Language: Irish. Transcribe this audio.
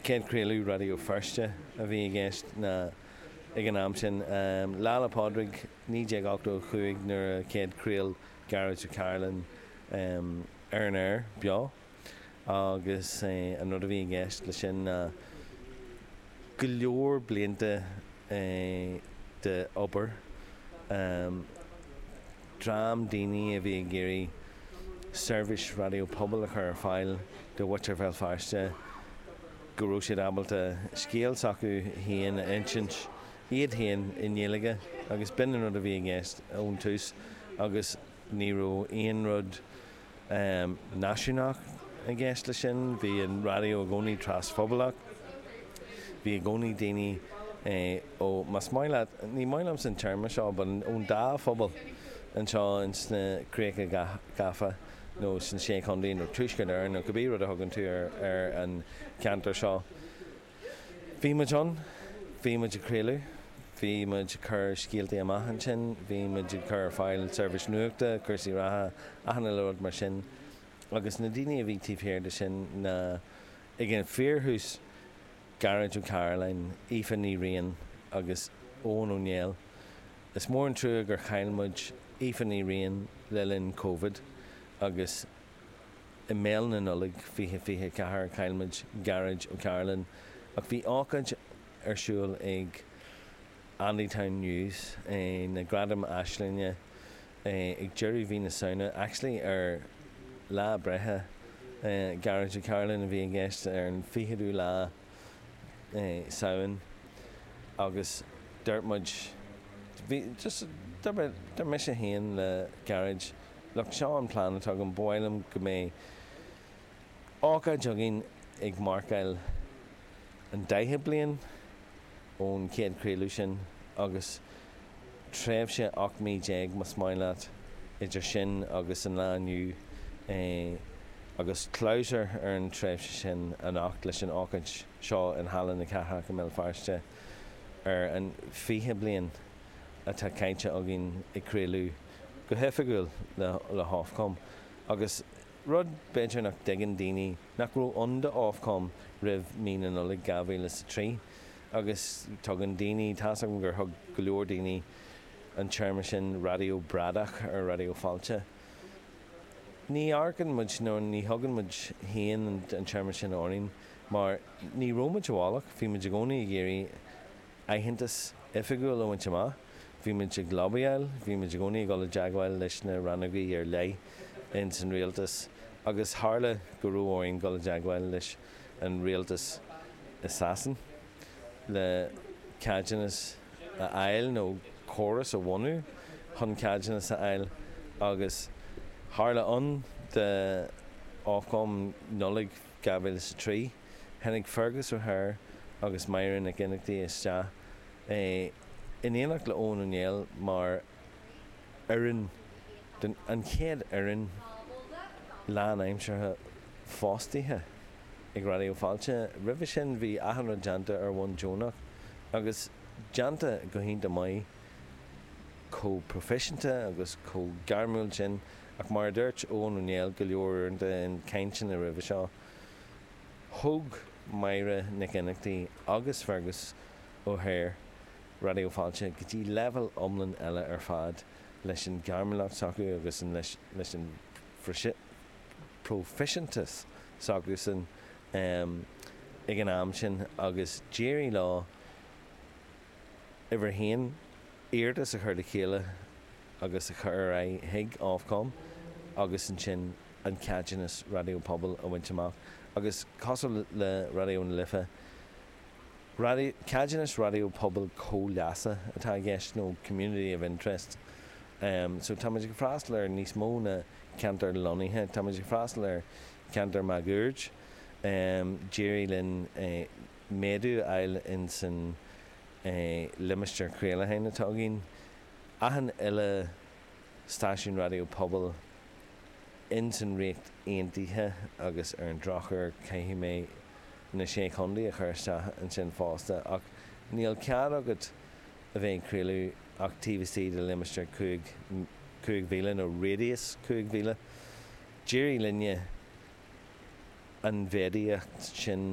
Céad craoladh Raidió Feirste a bhí i gceist ná ag an am sin. Lá 'le Pádraig 1985 nuair a chéad chraol Gearóid Ó Cairealláin ar an aer beo agus an rud a bhí i gceist leis sin ná go leor blianta de obair, dream daoine a bhí ag iarraidh seirbhís raidió pobail a chur ar fáil do mhuintir Bhéal Feirste, go raibh siad ábalta scéal s'acu féin a insint iad féin i nGaeilge agus b'in an rud a bhí i gceist ón tús agus ní raibh aon rud náisiúnach i gceist leis sin. Bhí an raidió i gcónaí trasphobalach. Bhí i gcónaí daoine ó, más maith leat, ní maith liomsa an téarma seo, but ón dá phobal anseo ins na Críocha Gafa nó sna Sé Chontae nó Tuaisceart Éireann nó cibé rud a thugann tú ar an cheantar seo. Bhí muid ann, bhí muid ag craoladh, bhí muid ag cur scéaltaí amach ansin, bhí muid ag cur ar fáil seirbhís nuachta, cúrsaí reatha, achan uile rud mar sin. Agus na daoine a bhí taobh thiar de sin ná, ag an fíorthús, Gearóid Ó Cairealláin, Aoife Ní Riain agus Eoghan Ó Néill. Is mór an trua gur chaill muid Aoife Ní Riain le linn Covid agus, I mbéal na Nollag 2024 chaill muid Gearóid Ó Cairealláin ach bhí ócáid ar siúl ag Andytown News, na Gradaim Aislinge, ag deireadh mhí na Samhna, actually ar lá breithe Gearóid Ó Cairealláin a bhí i gceist, ar an 20ú lá Samhain agus dúirt muid, bhí, just, dúirt mise féin le Gearóid, Look, seo an plean atá agam, ba mhaith liom go mbeidh ócáid againn ag marcáil an 40 bliain ón chéad chraoladh sin agus tréimhse 18 mí más maith leat idir sin agus an lá inniu agus clabhsúr ar an tréimhse sin anocht leis an ócáid seo in Halla na Cathrach i mBéal Feirste ar an 20 bliain atá caite againn ag craoladh go hoifigiúil le hOfcom agus rud b'fhéidir nach dtuigeann daoine, nach raibh ann do Ofcom roimh mí na Nollag 2003 agus tugann daoine, tá's agam gur thug go leor daoine an téarma sin raidió bradach ar Raidió Fáilte. Ní amharcann muid nó ní thugann muid féin an téarma sin orainn mar ní raibh muid i bhfolach, bhí muid i gcónaí ag iarraidh aitheantas oifigiúil a bhaint amach. Bhí muid ag lobbyáil, bhí muid i gcónaí ag dul i dteagmháil leis na rannógaí ar leith ins an rialtas agus tharla go raibh orainn dul i dteagmháil leis an rialtas i Sasain le ceadúnas a fháil nó córas a bhunú chun ceadúnas a fháil agus tharla ann do Ofcom Nollaig 2003. Tháinig Fergus O'Hare agus Máire Nic Fhionnachtaigh isteach in éineacht le Eoghan Ó Néill mar fhoireann den an chéad fhoireann lánaimseartha fostaithe ag Raidió Fáilte. Roimhe sin bhí achan rud déanta ar bhonn deonach agus déanta go hiontach maith, chomh proifisiúnta agus chomh gairmiúil sin ach mar a dúirt Eoghan Ó Néill go leor uaireanta in cainteanna roimhe seo, Thóg Máire Nic Fhionnachtaigh agus Fergus O'Hare Raidió Fáilte go dtí leibhéal iomlán eile ar fad leis an ghairmiúlacht s'acu agus an leis an phroifisiúntas s'acusan ag an am sin agus d'éirigh leo uimhir a haon iarratas a chur le chéile agus a chur ar aghaidh chuig Ofcom agus ansin an ceadúnas raidió pobail a bhaint amach agus cosúil le Raidió na Life, raidió, ceadúnas raidió pobail comhleasa atá i gceist nó community of interest. So tá muid ag freastal ar níos mó ná ceantar lonnaithe, tá muid ag freastal ar cheantar máguaird. D'éirigh linn méadú a fháil ins an limistéar craolacháin atá againn. Achan uile stáisiún raidió pobail ins an Ríocht Aontaithe agus ar an drochuair caithfidh mé na Sé Chontae a chur isteach ansin fosta ach níl cead agat a bheith ag craoladh ach taobh istigh de limistéar 5 mhíle nó radius 5 mhíle. D'éirigh linne an mhéadaíocht sin.